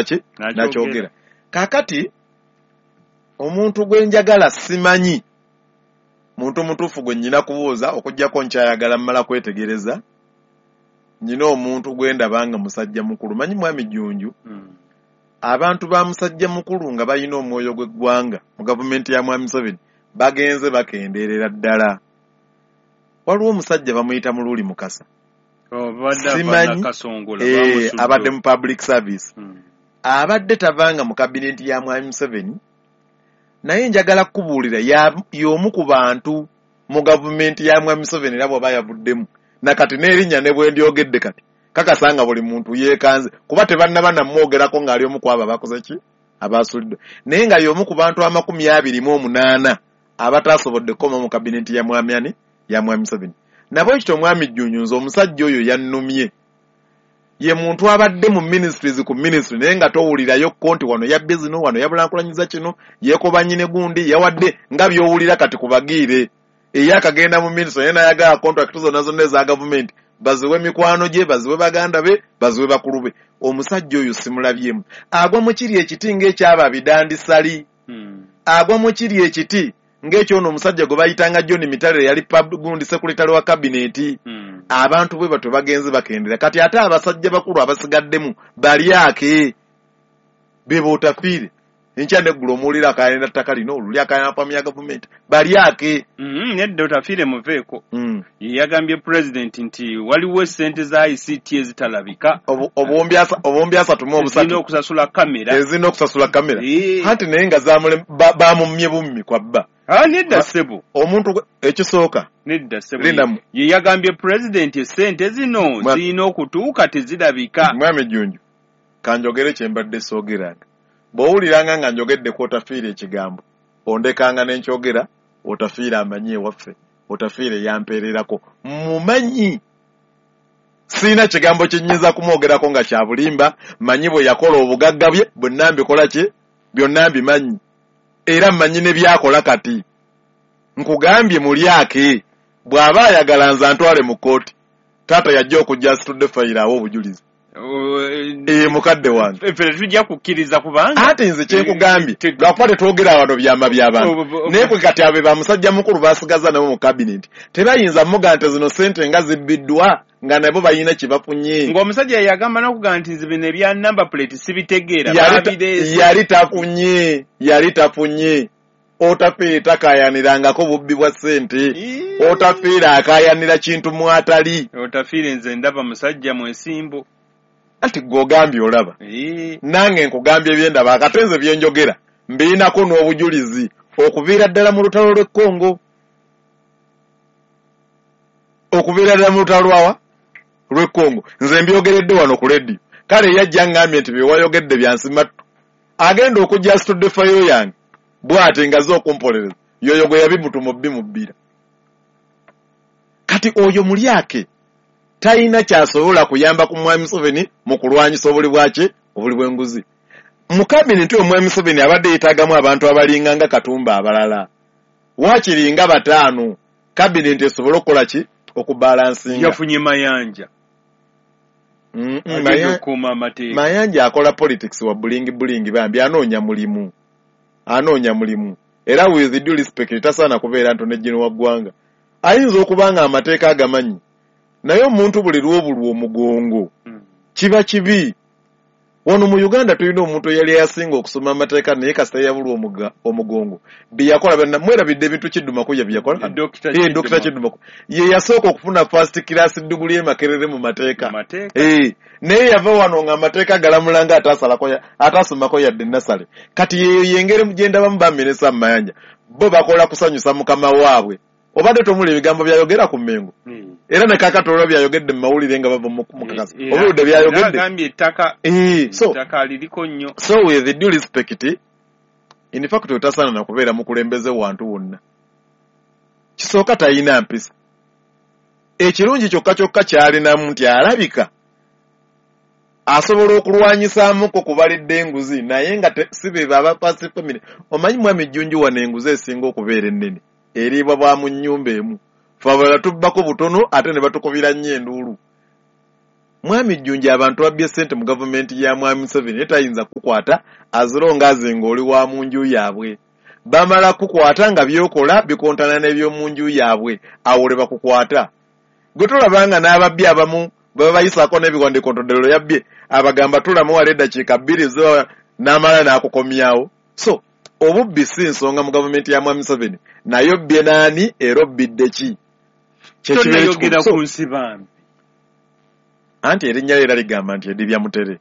Ki nakyogera. Kaakati omuntu gwe njagala, simanyi muntu mutuufu gwe nnyina kubuuza, okuggyako nkyayagala mmala kwetegereza. Nyina omuntu gwe ndaba nga musajja mukulu, manyi Mwami Jjunju, abantu ba musajja mukulu nga balina omwoyo gw'eggwanga mu gavumenti ya Mwami Museveni bagenze bakendeerera ddala. Waliwo omusajja bamuyita Mululi Mukasa. Obadde ava Simanyi. Nakasongola, bamusudde. Abadde mu public service, abadde tavanga mu kabineti ya Mwami Museveni, naye njagala kukubuulira y'omu ku bantu mu gavumenti ya Mwami Museveni, era bw'aba yavuddemu nakati n'erinnya ne bwe ndyogedde kati kakasa nga buli muntu yeekanze, kuba tebannaba namwogerako ng'ali omu ku abo abakoze ki, abasuuliddwa, naye nga y'omu ku bantu 28 abataasobodde kukoma mu kabineti ya mwami ani, ya Mwami Museveni. Nabwe kityo, Omwami Jjunju, nze omusajja oyo yannumye. Ye muntu abadde mu ministries ku ministry, naye nga towulirayo ko nti wano yabbye zino, wano yabulankulanyiza kino, yeekobanye ne gundi, yawadde, nga by'owulira kati kubagiire eyakagenda mu ministry, naye nayagala contract zonna zonna eza gavumenti baziwe mikwano gye, baziwe baganda be, baziwe bakulu be. Omusajja oyo simulabyemu agwa mu kiri ekiti ng'ekyaba bidandisali, agwa mu kiri ekiti ng'ekyono omusajja gwe bayitanga John Mitale, yali gundi secretary wa kabineti. Abantu bwe batyo bagenze bakendera. Kati ate abasajja bakulu abasigaddemu balyake be bootafiire enkya neggulo omuwulira akayanira ttaka lino, oluli akayanira famu ya gavumenti, balyake. Nedda, Otafiire muveeko. Ye yagambye pulezidenti nti waliwo essente za ICT ezitalabika. Obuwumbi asatu mu zirina obusatu okusasula kamera. Ezirina okusasula kamera. Anti naye nga bamumye bummi kwabba. Ah, nedda ssebo. Omuntu ekisooka Nedda ssebo. Lindamu. Ye yagambye pulezidenti essente zino zirina okutuuka, tezirabika. Mwami Jjunju, kanjogere kye mbadde soogeranga. Bw'owuliranga nga njogedde ku Otafiire ekigambo, ondekanga ne nkyogera. Otafiire amanyi ewaffe, Otafiire yampeererako, mumanyi, siina kigambo kye nnyinza kumwogerako nga kya bulimba. Manyi bwe yakola obugagga bye bwonna, mbikola ki, byonna mbimanyi, era mmanyi ne byakola. Kati nkugambye mulyake, bw'aba ayagala nze antwale mu kkooti. Taata yajja okujja asitudde fayiro awo obujulizi. Ee, mukadde wange. Ffe tetujja kukkiriza kubanga Ate nze kyenkugambye, lwakuba tetwogera wano byama by'abantu, naye kwe kati abe bamusajja mukulu basigaza nabo mu kabineti tebayinza muga nti zino sente nga zibbiddwa, nga nabo balina kye bafunye. Ng'omusajja yagamba n'okugamba nti nze bino ebya number plate sibitegeera, babireese. Yali tafunye, yali tafunye. Otafiire takayanirangako bubbi bwa ssente. Otafiire akayanira kintu mwatali. Otafiire nze ndaba musajja mwesimbu. Anti gwe ogambye olaba, nange nkugambye ebyendaba. Akate nze byenjogera mbiinako n'obujulizi okuviira ddala mu lutalo lw'e Congo, okuviira ddala mu lutalo lwawa lw'e Congo. Nze mbyogeredde wano ku rediyo. Kale yajja ngambye nti byewayogedde byansimattu, agenda okujja asitudde fayo yange bw'ate ngaze okumpolereza yoyo gwe yabimutuma obbimubbira. Kati oyo mulyake talina kyasobola kuyamba ku Mwami Museveni mu kulwanyisa obuli bwaki, obuli bw'enguzi mu kabineti. Oyo Mwami Museveni abadde yeetaagamu abantu abalinga nga Katumba, abalala waakiri nga bataano, kabineti esobole okukola ki, okubalansinga. Yafunye Mayanja agenda okukuuma amateeka. Mayanja akola politics wa bulingi bulingi, bambi anoonya mulimu, anoonya mulimu. Era with due respect, tasaana kubeera ntone gino wa ggwanga. Ayinza okuba nga amateeka agamanyi, naye omuntu buli lw'obulwa omugongo kiba kibi. Wano mu Uganda tulina omuntu eyali yasinga okusoma amateeka, naye kasita yabulwa omugongo, bye yakola byonna mwerabidde. Ebintu Kiddumakuya bye yakola. Dr. Dr. Kiduma. Kiddumaku ye yasooka okufuna first class degree e Makerere mu mateeka. Mu mateeka. Naye yava wano nga amateeka galamula nga ataasomako yadde nasale. Kati yeyo yengeri gye ndabamu baminisita mu Mayanja, bo bakola kusanyusa mukama waabwe. Obadde tomuli ebigambo byayogera ku Mmengo, era ne kaakati olwa byayogedde mu mawulire nga bava mu kakasa, obuludde Era byayogedde. agambye ettaka So ettaka liriko nnyo. So with due respect, in fact otasaana na kubeera mukulembeze wantu wonna. Kisooka talina mpisa. Ekirungi kyokka kyokka kyalinamu nti alabika asobola okulwanyisaamuko kubalidde enguzi, naye nga si be baba first family. Omanyi Mwami Jjunju, wano enguzi esinga okubeera ennene eriibwa bwa mu nnyumba emu. Fe abalala tubbako butono, ate ne batukubira nnyo enduulu. Mwami Jjunju, abantu babbye ssente mu gavumenti ya Mwami Museveni, naye tayinza kukwata azirongaaze ng'oli wa mu nju yaabwe. Bamala kukwata nga byokola bikontana n'ebyomu nju yaabwe, awo lwe bakukwata. Gwe tolabanga n'ababbi abamu baba bayisaako n'ebiwandiiko ntoddero yabbye, abagamba tulamu wala eddakiika 2 zo n'amala n'akukomyawo. So obubbi si nsonga mu gavumenti ya Mwami Museveni, naye obbye naani era obbidde ki? Kyekiyogera ku Nsibambi. Anti erinnya era ligamba nti edibya mutere.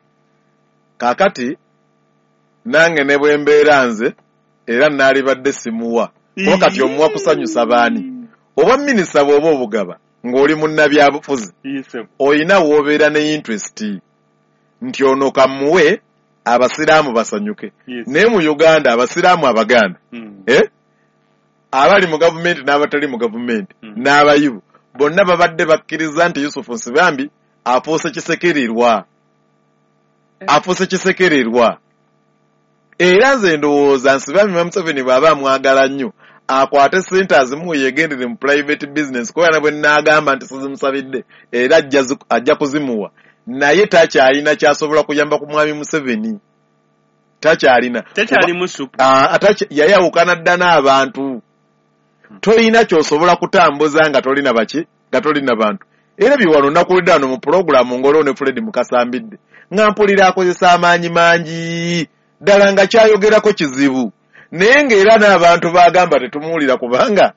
Kaakati nange ne bwe mbeera nze era naalibadde simuwa. Kuba kati omuwa kusanyusa baani? Obwa minisita bw'oba obugaba ng'oli munnabyabufuzi, oyina w'obeera ne interest nti ono kamuwe abasiraamu basanyuke. Naye mu Uganda abasiraamu Abaganda abali mu gavumenti n'abatali mu gavumenti n'abayivu bonna babadde bakkiriza nti Yusufu Nsibambi afuuse kisekererwa. Afuuse kisekererwa. Era nze ndowooza Nsibambi Museveni bw'aba amwagala nnyo akwate ssente azimuwe yegendere mu private business, kuba bwe nnaagamba nti sizimusabidde era ajja kuzimuwa, naye takyalina kyasobola kuyamba ku Mwami Museveni. Takyalina. Yayawukana dda n'abantu. Toyina ky'osobola kutambuza nga tolina baki, nga tolina bantu. Era biwano nakulidde wano mu pulogulaamu ng'oliwo ne Fred Mukasambidde nga mpulira akozesa amaanyi mangi ddala nga kyayogerako kizibu, naye ng'era n'abantu bagamba tetumuwulira kubanga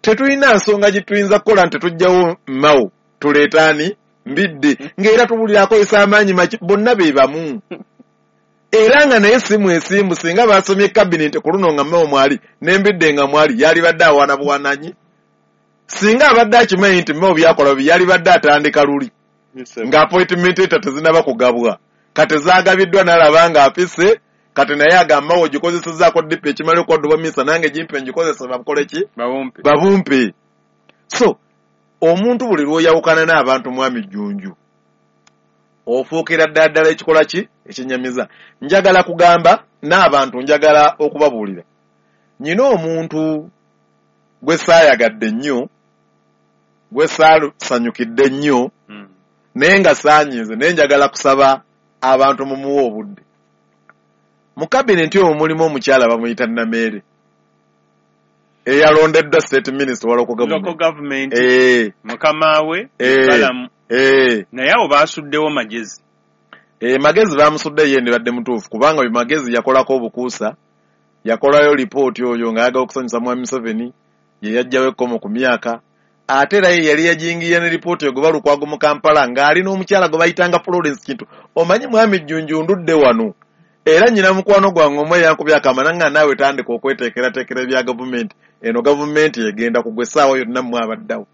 tetulina nsonga gye tuyinza kukola nti tetujjawo Mao tuleetaani Mbidde, ng'era tuwulira akozesa amaanyi maki, bonna be bamu. Era nga naye si mwesimbu, singa basomye kabineti ku luno nga Mao mwali n'Embidde nga mwali, yalibadde awaana buwananyi. Singa abadde akimanyi nti Mao byakola bi, yalibadde atandika luli nga appointment eta tezinaba kugabwa, kati zaagabiddwa n'alaba nga afise. Kati naye agamba Mao ogikozesezzaako DP ekimala okwadde obwa minisita, nange gimpe ngikozese bakole ki? Babumpe. So omuntu buli lw'oyawukana n'abantu Mwami Jjunju ofuukira ddala ddala ekikola ki ekinyamiza. Njagala kugamba n'abantu, njagala okubabuulira, nyina omuntu gwe saayagadde nnyo, gwe saasanyukidde nnyo, naye nga saanyiize, naye njagala kusaba abantu mumuwe obudde. Mu kabineti omwo mulimu omukyala bamuyita Nameere eyalondeddwa state minister wa local government. Mukama we Balamu. Naye awo baasuddewo Magezi. Magezi bamusudde ye ndibadde mutuufu, kubanga oyo Magezi yakolako obukuusa, yakolayo lipooti oyo ng'ayagala okusanyusa Mwami Museveni, ye yaggyawo ekkomo ku myaka. Ate era ye yali yajingira ne lipooti egoba Lukwago mu Kampala ng'ali n'omukyala gwe bayitanga Florence Kintu. Omanyi Mwami Jjunju ndudde wano, era nnyina mukwano gwange omu eyankubye akamana nga naawe tandika okweteekerateekera ebya gavumenti. Eno gavumenti egenda kugwa essaawa yonna mmwe abaddawo.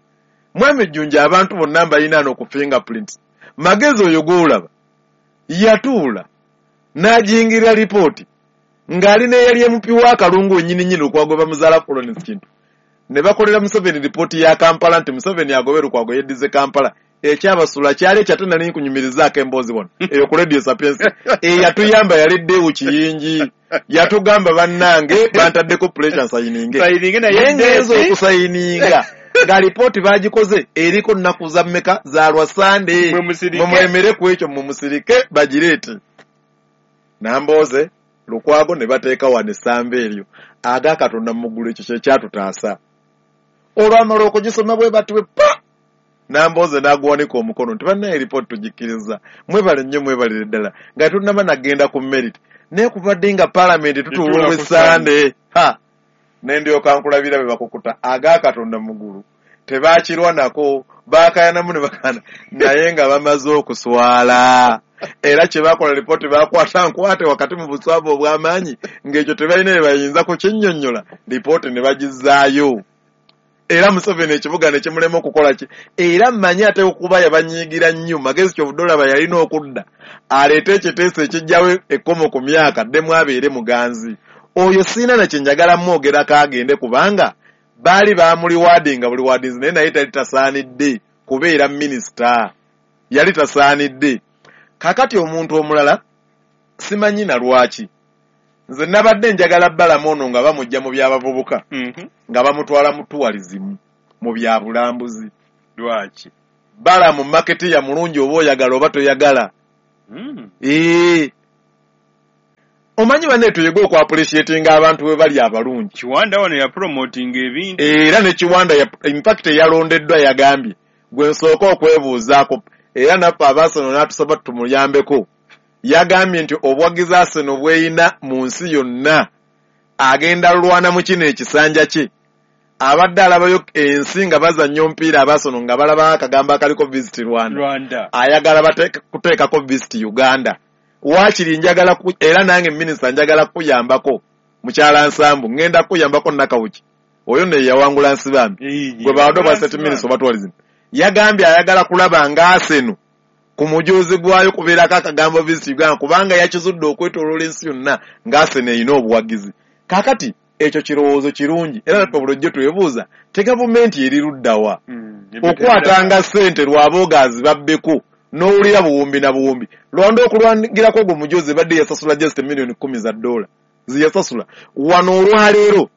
Mwami Jjunju abantu bonna mbalina ano ku fingerprints. Magezi oyo gw'olaba yatuula n'ajingira lipooti ng'ali n'eyali MP wa Kalungu wennyini nnyini Lukwago bamuzaala Florence Kintu. Ne bakolera Museveni lipooti ya Kampala nti Museveni agobe Lukwago yeddize Kampala. Ekyabasula kyali ekyo ate nali nkunyumirizaako emboozi wano eyo ku Radio Sapientia. Eyatuyamba yali Deo Kiyingi, yatugamba bannange bantaddeko pressure nsayininge, naye ngenze okusayininga nga lipooti bagikoze eriko nnaku za mmeka za lwa Sande, mumwemere ku ekyo mumusirike bagireete. Nambooze Lukwago ne bateeka wano essamba eryo aga Katonda mu ggulu, ekyo kye kyatutaasa. Olwamala okugisoma bwe bati bwe pa Nambooze n'aguwanika omukono nti bannaye lipooti tugikkiriza, mwebale nnyo mwebalire ddala, nga tunnaba nagenda ku merit. Naye kubadde nga paalamenti tutuula olw'Essande, ha ne ndyoka nkulabira bwe bakukuta aga Katonda mu ggulu. Tebaakirwa nako, baakayanamu ne bakana, naye nga bamaze okuswala. Era kye baakola lipooti baakwata nkwate wakati mu buswavu obw'amaanyi ng'ekyo tebalina bye bayinza kukinnyonnyola, lipooti ne bagizzaayo. Era Museveni ekibuga ne kimulema okukola ki? Era mmanyi ate okuba yabanyiigira nnyo, Magezi kyovudde olaba yalina okudda aleete ekiteeso ekiggyawo ekkomo ku myaka addemu abeere muganzi. Oyo sirina na kye njagala mwogerako agende, kubanga baali bamuliwaadinga buli waadinzi, naye naye tali tasaanidde kubeera minisita, yali tasaanidde. Kaakati omuntu omulala simanyi na lwaki nze nabadde njagala Balamu ono nga bamujja mu by'abavubuka, nga bamutwala mu tourism, mu bya bulambuzi. Lwaki? Balamu marketeer mulungi oba oyagala oba toyagala. Omanyi banne tuyige oku appreciatinga abantu bwe bali abalungi. Kiwanda wano ya promoting ebintu. Era ne Kiwanda in fact yalondeddwa yagambye gwe nsooka okwebuuzaako era naffe ab'Arsenal n'atusaba tumuyambeko. Yagambye nti obuwagizi Arsenal bweyina mu nsi yonna agenda lwana mu kino ekisanja kye. Abadde alabayo ensi nga bazannya omupiira ab'Arsenal nga balaba akagambo akaliko Visit Rwanda. Ayagala kuteekako Visit Uganda. Waakiri njagala era nange minisita njagala kuyambako mukyala Nsambu ngenda kuyambako Nakawuki oyo ne yawangula Nsibambi gwe bawadde obwa state minister oba tourism. Yagambye ayagala kulaba nga Arsenal ku mujuzi gwayo kubeerako akagambo Visit Uganda kubanga yakizudde okwetooloola ensi yonna nga Arsenal erina obuwagizi. Kaakati ekyo kirowoozo kirungi era naffe bulijjo twebuuza te gavumenti eri ludda wa okwatanga ssente lwaboogazi babbeko n'owulira buwumbi na buwumbi. Rwanda okulwangirako ogwo mujozi badde yasasula just $10 million ziyasasula. Wano olwaleero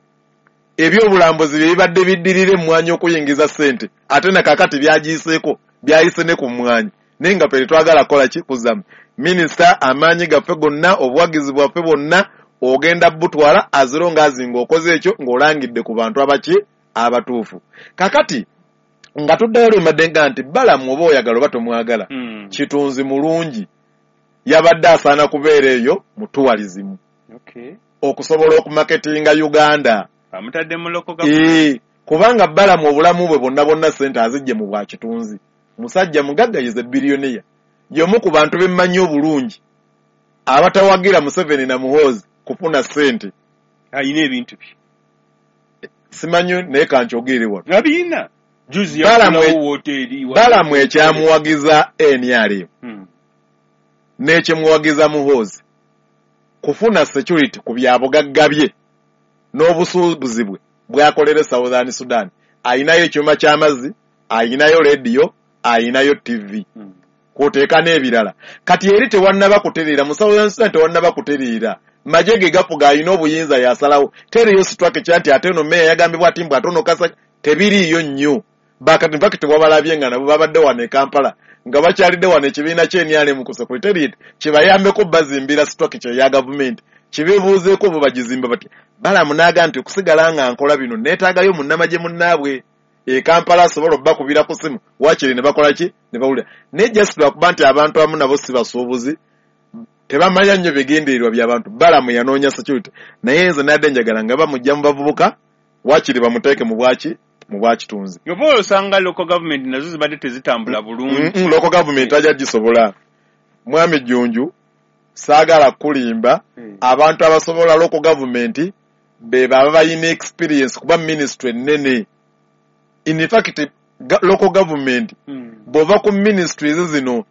ebyobulambuzi bye bibadde biddirira emmwanyi okuyingiza ssente ate na kaakati byagiyiseeko byayise ne ku mmwanyi naye nga ffe tetwagala kukola ki kuzzamu. Minisita amaanyi gaffe gonna obuwagizi bwaffe bwonna ogenda butwala aziro ng'azinga okoze ekyo ng'olangidde ku bantu abaki abatuufu. Kakati nga tuddayo lwe nga nti Balamu oba oyagala oba tomwagala kitunzi mulungi yabadde asaana kubeera eyo mu tourism okusobola okumaketinga Uganda. Amutadde mu local government. Kubanga Balamu obulamu bwe bwonna bwonna ssente azijje mu bwa kitunzi. Musajja mugagga yize billionaire. Y'omu ku bantu bemmanyi obulungi abatawagira Museveni na Muhoozi kufuna ssente. Ayina ebintu bye. Simanyi naye kankyogere wano. Abiyina. Juzi Balamu ekyamuwagiza NRM n'ekyemuwagiza Muhoozi kufuna security ku byabugagga bye n'obusuubuzi bwe bwakolera Southern Sudan. Ayinayo ekyuma ky'amazzi, ayinayo rediyo, ayinayo TV kwoteeka n'ebirala. Kati eri tewannaba kutereera mu Southern Sudan tewannaba kutereera. Magye ge gafuga alina obuyinza yasalawo. Teriyo structure nti ate eno meeya yagambibwa ati mbu ate ono kasa tebiriiyo nnyo. Bakati mpaka tewabalabye nga nabo babadde wano e Kampala nga bakyalidde wano ekibiina ky'NRM ku secretariat kibayambeko bazimbira structure ya gavumenti kibeebuuzeeko bo bagizimba batya. Balamu n'agamba nti okusigala nga nkola bino neetaagayo munnamagye munnaabwe e Kampala asobola obbakubira ku ssimu waakiri ne bakola ki ne bawulira. Naye just lwakuba nti abantu abamu nabo si basuubuzi tebamanya nnyo bigendererwa by'abantu. Balamu yanoonya security naye nze nadde njagala nga bamujja mu bavubuka waakiri bamuteeke mu bwaki mu bwakitunzi. Oba osanga local government nazo zibadde tezitambula bulungi. Local government ajja gisobola. Mwami Jjunju saagala kulimba abantu abasobola local government be baba balina experience kuba ministry ennene. In fact local government bw'ova ku ministries zino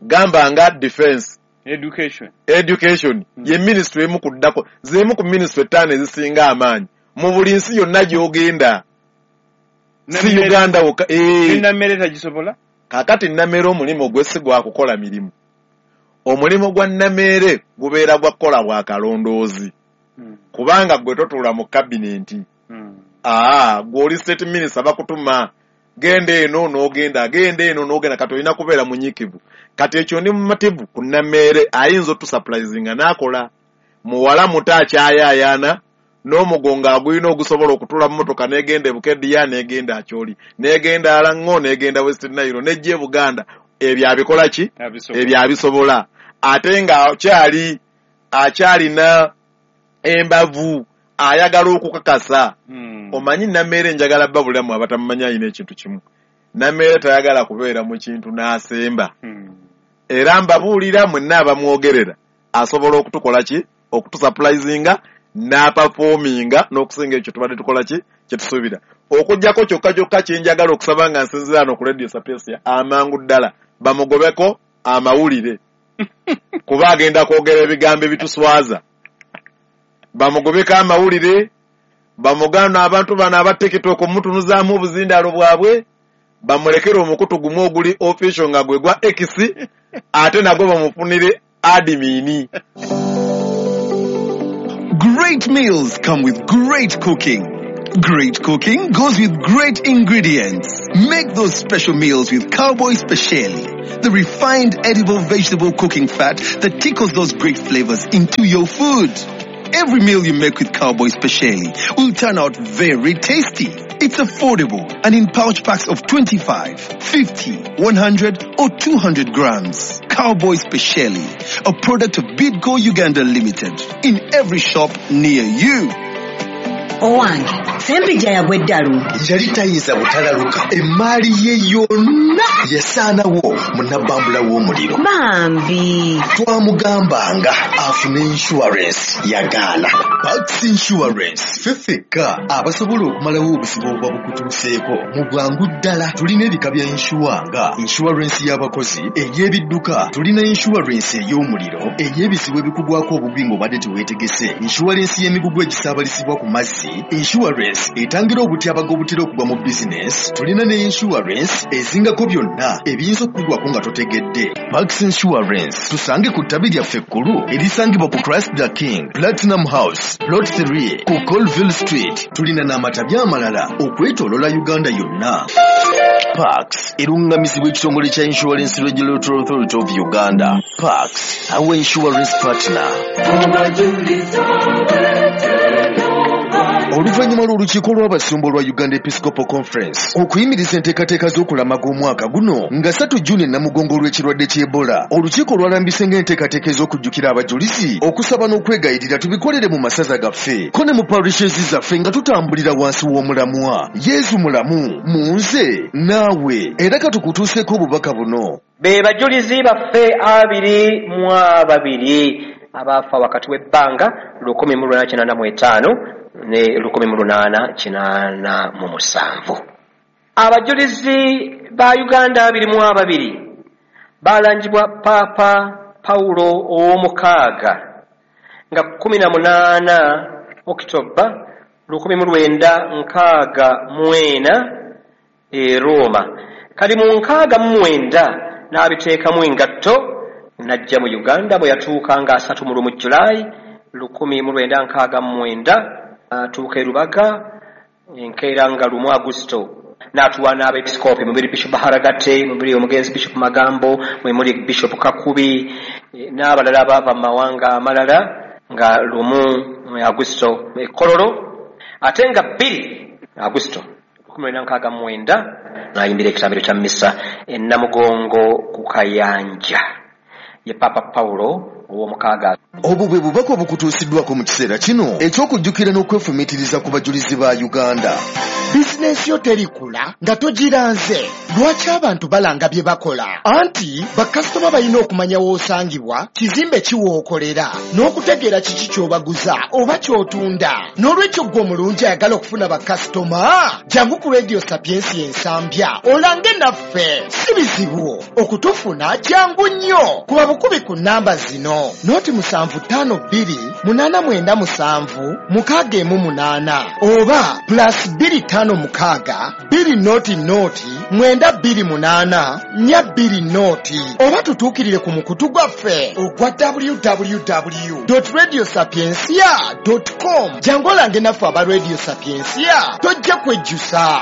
gamba nga defense, education ye ministry emu kuddako z'emu ku ministry 5 ezisinga amaanyi mu buli nsi yonna gy'ogenda. Si Uganda wokka. Nammere tagisobola? Kaakati Nammere omulimu gwe si gwa kukola mirimu. Omulimu gwa Nammere gubeera gwa kukola bwa kalondoozi. Kubanga gwe totuula mu kabinenti. Gwe oli state minister bakutuma genda eno n'ogenda, genda eno n'ogenda, kati olina kubeera munyiikivu. Kati ekyo ndi mumativu ku Nammere ayinza otusurprisinga n'akola. Muwala muto akyayaayaana n'omugongo agulina ogusobola okutuula mu mmotoka n'egenda e Bukedea n'egenda Acholi n'egenda Alango n'egenda West Nile n'ejja e Buganda. Ebyo abikola ki? Ebyo abisobola. Ate nga akyalina embavu ayagala okukakasa. Omanyi Nammere njagala babulamu abatamumanyi alina ekintu kimu. Nammere tayagala kubeera mu kintu n'asemba. Era mbabuulira mwenna abamwogerera asobola okutukola ki? Okutusurprisinga n'aperforminga n'okusinga ekyo tubadde tukola ki? Kye tusuubira. Okuggyako kyokka kyokka kye njagala okusaba nga nsinziira wano ku Radio Sapientia amangu ddala bamugobeko amawulire kuba agenda kwogera ebigambo ebituswaza. Bamugobeko amawulire, bamugana abantu bano aba TikTok omutunuzaamu obuzindaalo bwabwe, bamulekere omukutu gumu oguli official nga gwe gwa X ate nagwo bamufunire admin. Great meals come with great cooking. Great cooking goes with great ingredients. Make those special meals with Cowboy Speciale, the refined edible vegetable cooking fat that tickles those great flavors into your food. Every meal you make with Cowboy Speciale will turn out very tasty. It's affordable and in pouch packs of 25, 50, 100 or 200 grams. Cowboy Speciale, a product of Bidco Uganda Limited, in every shop near you. Owange, Sempijja yagwa eddalu. Yali tayinza butalaluka. Emmaali ye yonna yasaanawo mu nabbambula w'omuliro. Bambi. Twamugambanga afune insurance yagaana. Pax Insurance ffe ffekka abasobola okumalawo obuzibu obuba bukutuuseeko mu bwangu ddala. Tulina ebika bya insure nga insurance y'abakozi, ey'ebidduka, tulina insurance ey'omuliro, ey'ebizibu ebikugwako obugwi ng'obadde teweetegese, insurance y'emigugu egisaabalizibwa ku mazzi, insurance etangira obutyabaga obutera okugwa mu bizinesi, tulina ne insurance ezingako byonna ebiyinza okukugwako nga totegedde. Pax Insurance tusange ku ttabi lyaffe ekkulu erisangibwa ku Christ the King Platinum House Plot 3 ku Colville Street. Tulina n'amatabi amalala okwetooloola Uganda yonna. Pax erungamizibwa ekitongole kya Insurance Regulatory Authority of Uganda. Pax, our insurance partner. Oluvannyuma lw'olukiiko lw'abasumba olwa Uganda Episcopal Conference okuyimiriza enteekateeka z'okulamaga omwaka guno nga 3 June e Namugongo olw'ekirwadde ky'Ebola, olukiiko lwalambise ng'enteekateeka ez'okujjukira abajulizi, okusaba n'okwegayirira tubikolere mu masaza gaffe ko ne mu parishes zaffe nga tutambulira wansi w'omulamwa Yesu mulamu mu nze naawe. Era katukutuuseeko obubaka buno. Be bajulizi baffe 22 abaafa wakati w'ebbanga 1985 ne 1887. Abajulizi ba Uganda 22 balangibwa Papa Paulo ow'omukaaga nga 18 Okitoba 1964 e Roma. Kali mu 69 n'abiteekamu engatto n'ajja mu Uganda bwe yatuuka nga 31 Julaayi 1969 atuuka e Rubaga enkeera nga 1 Agusto n'atuwa n'abeepisikoopi mubiri Bishop Haragate, mubiri omugenzi Bishop Magambo, mwe muli Bishop Kakubi n'abalala abaava mu mawanga amalala nga 1 Agusto e Kololo, ate nga 2 Agusto 1969 n'ayimbira ekitambiro kya missa e Namugongo ku Kayanja ye Papa Paulo ow'omukaaga. Obwo bwe bubaka obukutuusiddwako mu kiseera kino eky'okujjukira n'okwefumiitiriza ku bajulizi ba Uganda. Bizinensi yo terikula nga togiranze. Lwaki abantu balanga bye bakola? Anti bakasitoma balina okumanya w'osangibwa, kizimbe ki w'okolera, n'okutegeera kiki ky'obaguza oba ky'otunda. N'olwekyo ggwe omulungi ayagala okufuna bakasitoma, jangu ku Radio Sapiensia Ensambya olange naffe. Si bizibu okutufuna, jangu nnyo. Kuba bukubi ku nnamba zino: 0 752 897 618 oba +256 200 928 420 oba tutuukirire ku mukutu gwaffe ogwa www.radiosapiencia.com. Jangu olange naffe aba Radio Sapiensia, tojja kwejjusa.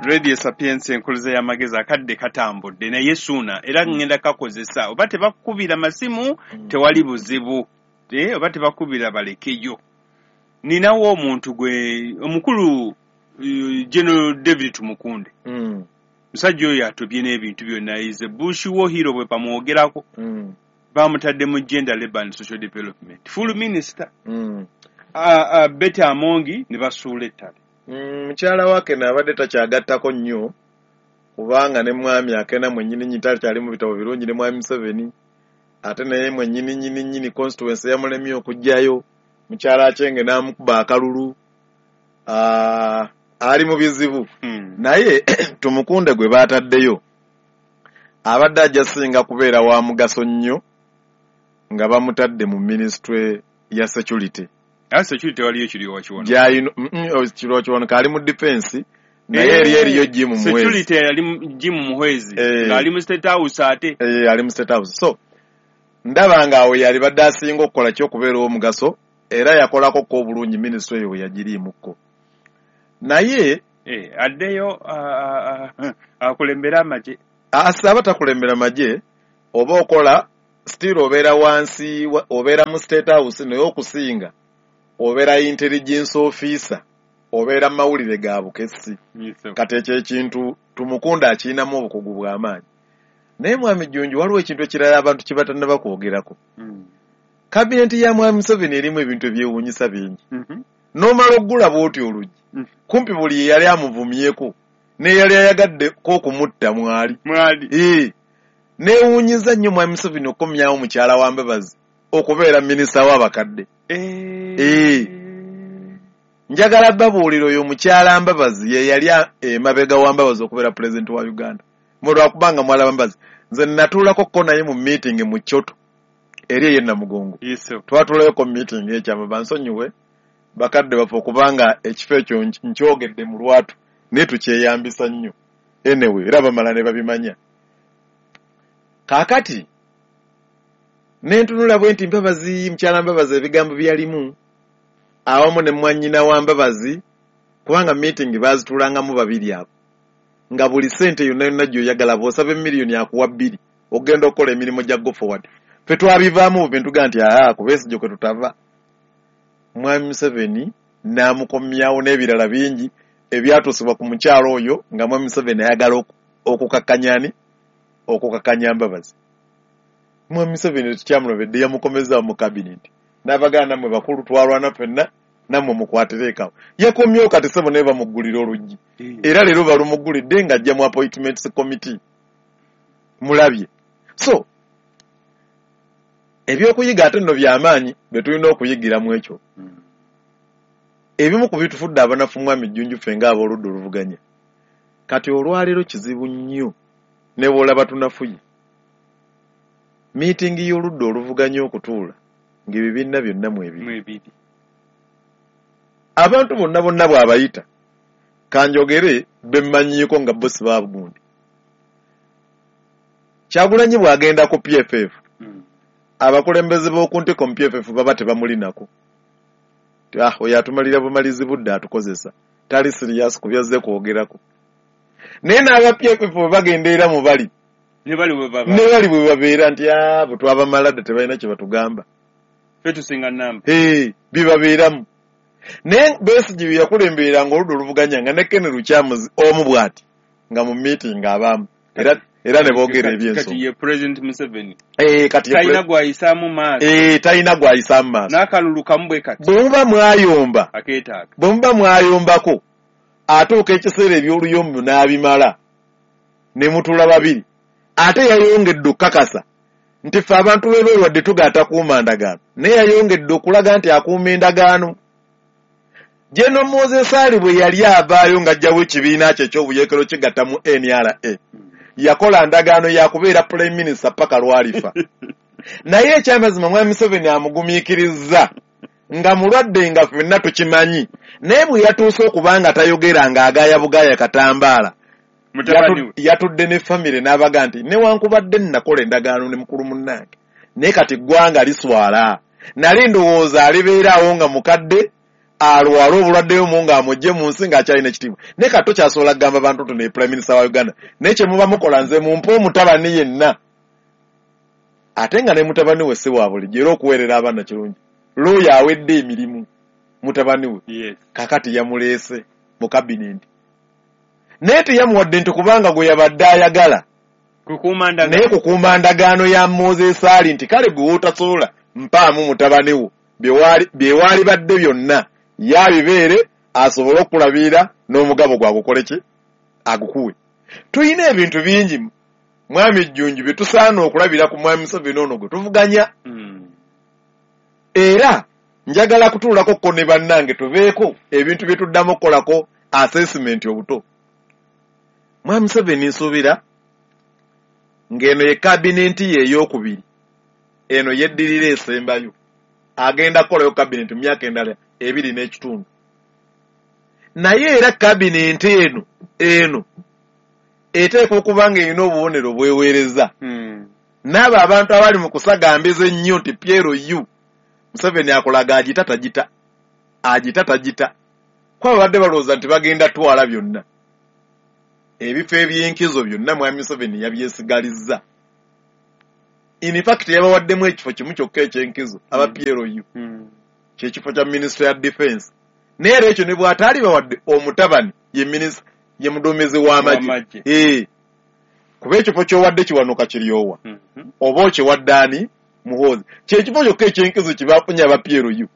Radio Sapiensia enkuluze y'amagezi. Akadde katambudde naye suuna era ngenda kakozesa. Oba tebakukubira masimu tewali buzibu, oba tebakubira balekeyo. Ninawo omuntu gwe omukulu General David Tumukunde. Musajja oyo atobye n'ebintu byonna, is a bush war hero bwe bamwogerako. Bamutadde mu Gender, Labour and Social Development full minister. Betty Amongi ne basuula ettale. Mukyala wa Akena abadde takyagattako nnyo kubanga ne mwami Akena mwennyini nnyini takyali mu bitabo birungi ne mwami Museveni, ate naye mwennyini nnyini nnyini constituency yamulemye okuggyayo mukyala Achenge n'amukuba akalulu. Ali mu bizibu. Naye Tumukunde gwe baataddeyo abadde ajja singa kubeera wa mugaso nnyo nga bamutadde mu ministry ya security. Security waliyo Kiryowa Kiwanuka. Gyayino Kiryowa Kiwanuka ali mu defense, naye eri eriyo Jim Muhwezi. Security yali Jim Muhwezi ng'ali mu State House ate. Ali mu State House. So ndaba nga awo yali badde asinga okukola kyokubeera omugaso, era yakolako ko obulungi ministry eyo we yagiriimukko. Naye addeyo akulembera amagye. Aba takulembera magye, oba okola still obeera wansi, obeera mu State House, naye okusinga obeera intelligence officer, obeera mu mawulire ga bukessi. Kati ekyo ekintu Tumukunda akirinamu obukugu bw'amaanyi. Naye Mwami Jjunju, waliwo ekintu ekirala abantu kye batannaba kwogerako. Kabineti ya Mwami Museveni erimu ebintu ebyewuunyisa bingi. N'omala okugula bw'oti oluggi, kumpi buli eyali amuvumyeko n'eyali ayagaddeko okumutta mwali. Neewuunyiza nnyo Mwami Museveni okukomyawo mukyala wa Mbabazi okubeera minisita w'abakadde. Njagala babuulira oyo mukyala Mbabazi ye yali emabega wa Mbabazi okubeera pulezidenti wa Uganda. Mwe lwakubanga mwalaba Mbabazi. Nze natuulako ko naye mu meeting mu Kyoto eri ey'e Namugongo. Twatuulayoko mu meeting ekyama, bansonyiwe bakadde baffe okubanga ekifo ekyo nkyogedde mu lwatu, naye tukyeyambisa nnyo. Anyway, era bamala ne babimanya. Kaakati ne ntunula bwe nti Mbabazi, mukyala Mbabazi ebigambo bye yalimu awamu ne mwannyina wa Mbabazi, kubanga meeting baazituulangamu babiri abo, nga buli ssente yonna yonna gy'oyagala bw'osaba emiliyoni akuwa 2 ogenda okukola emirimu gya go forward. Ffe twabivaamu bubi ntuga nti aa ku Besigye kwe tutava. Mwami Museveni n'amukomyawo n'ebirala bingi ebyatuusibwa ku mukyalo oyo nga Mwami Museveni ayagala okukakkanya ani? Okukakkanya Mbabazi. Mwami Museveni tekyamulobedde, yamukomezaawo mu kabineti. N'abaganda nammwe bakulu twalwana ffenna, nammwe mukwatireekawo. Yakomyewo kati ssebo naye bamuggulira oluggi. Era leero balumuggulidde ng'ajja mu appointments committee. Mulabye. So, ebyokuyiga ate nno byamaanyi bye tulina okuyigira mu ekyo. Ebimu ku bitufudde abanafu Mwami Jjunju ffe ng'abooludda oluvuganya. Kati olwaleero kizibu nnyo ne bw'olaba tunafuye. Miitingi y'oludda oluvuganya okutuula ng'ebibiina byonna mwebiri. Abantu bonna bonna bw'abayita kanjogere bemmanyiiko nga bo si baagundi. Kyagulanyi bw'agenda ku PFF, abakulembeze b'oku ntiko mu PFF baba tebamulinako. Oyo atumalira bumalizi budde atukozesa, tali serious ku byazze kwogerako. Naye n'aba PFF bwe bagenda era mu bali ne bali bwe babeera nti bwe twabamala dda tebalina kye batugamba. Ffe tusinga nnamba. Bibabeeramu. Naye Besigye bye yakulembereranga oludda oluvuganya nga ne Ken Lukyamuzi omu bw'ati nga mu meeting abaamu era ne boogera eby'ensonga. Kati ye President Museveni. Kati talina gw'ayisaamu maaso. Talina gw'ayisaamu maaso. N'akalulu kamu bwe kati. Bwe muba mwayomba. Akeetaaga. Bwe muba mwayombako atuuka ekiseera eby'oluyombo n'abimala ne mutuula babiri. Ate yayongedde okukakasa nti ffe abantu b'ebweru wadde tugaata kuuma ndagaano, naye yayongedde okulaga nti akuuma endagaano. General Moses Ali bwe yali avaayo ng'aggyawo ekibiina kye eky'obuyeekero kigatta mu NRA, yakola ndagaano ya kubeera Prime Minister paka lw'alifa. Naye ekyamazima Mwami Museveni amugumiikirizza nga mulwadde nga ffenna tukimanyi, naye bwe yatuuse okuba nga tayogera ng'agaaya bugaaya katambaala, yatudde ne famire n'abaga nti newankubadde nnakola endagaano ne mukulu munnange, naye kati ggwanga liswala. Nali ndowooza alibeeraawo nga mukadde alwala obulwadde omu ng'amugye mu nsi ng'akyalina ekitiibwa, naye kati tokyasobola kugamba bantu nti ne Prime Minister wa Uganda, naye kye muba mukola nze mumpe omutabani yenna. Ate nga ne mutabani we si wa bulijjo, era okuweerera abaana kirungi. Looya awedde emirimu mutabani we, kakati yamuleese mu kabineti. Naye teyamuwadde nti kubanga gwe yabadde ayagala naye kukuuma ndagaano ya Moses Ali nti kale gwe w'otasobola mpaamu mutabani wo bye waali badde byonna yabibeere asobole okulabirira n'omugabo gwagukole ki agukuwe. Tulina ebintu bingi Mwami Jjunju bye tusaana okulabira ku Mwami Museveni ono gwe tuvuganya. Era njagala kutuulako ko ne bannange tubeeko ebintu bye tuddamu okukolako assessment obuto. Mwami Museveni nsuubira ng'eno ye kabinenti ye ey'okubiri, eno yeddirira esembayo, agenda kukolayo kabinenti mu myaka endala 2 n'ekitundu. Naye era kabinenti eno eteekwa okuba ng'erina obubonero bweweereza. N'abo abantu abali mu kusagambiza ennyo nti PLU Museveni akolaga agita tagita, agita tagita. Kuba babadde balowooza nti bagenda twala byonna, ebifo ebyenkizo byonna Mwami Museveni yabyesigalizza. In fact, yabawaddemu ekifo kimu kyokka ekyenkizo aba PLU, kyekifo kya minisitule ya defense. Naye era ekyo ne bw'ataali bawadde omutabani, ye minisita, ye muduumizi w'amagye. W'amagye. Kuba ekifo ky'owadde Kiwanuka kiryowa oba okiwadde ani, Muhoozi, kyekifo kyokka ekyenkizo kye bafunye aba PLU.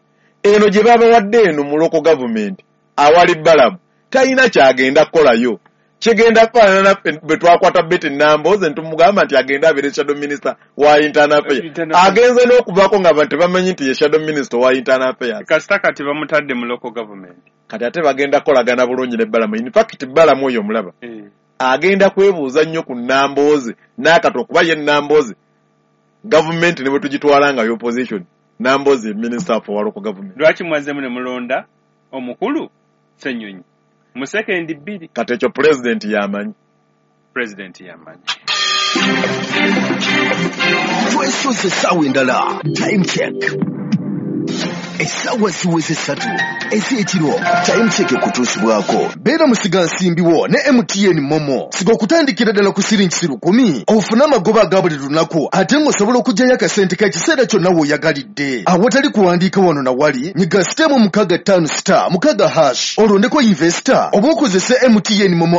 Eno gye babawadde eno mu local government awali Balamu, talina kyagenda kukolayo. Kigenda kufaanana naffe bwe twakwata Betty Nambooze ntumugamba nti agende abeere shadow minister wa internal affairs. Internal affairs. Agenze n'okuvaako nga abantu tebamanyi nti ye shadow minister wa internal affairs. Kasita kati bamutadde mu local government. Kati ate bagenda kukolagana bulungi ne Balamu. In fact, Balamu oyo omulaba agenda kwebuuza nnyo ku Nambooze n'akato, okuba ye Nambooze gavumenti ne bwe tugitwala nga opposition, Nambooze ye minister for local government. Lwaki mwazzemu ne mulonda omukulu Ssenyonyi mu sekendi 2? Kati ekyo pulezidenti yamanyi. Pulezidenti yamanyi. Twesoze essaawa endala, Time Check. Essaawa ziweze 3 ez'ekiro. Time Check ekutuusibwako beera musigansimbi wo ne MTN MoMo. Siga okutandikira ddala ku siringi 1,000 ofune amagoba aga buli lunaku, ate ng'osobola okuggyayo akasente k'ekiseera kyonna w'oyagalidde awatali kuwandiika wano na wali. Nyiga star 656*6# olondeko investor oba okozese MTN MoMo.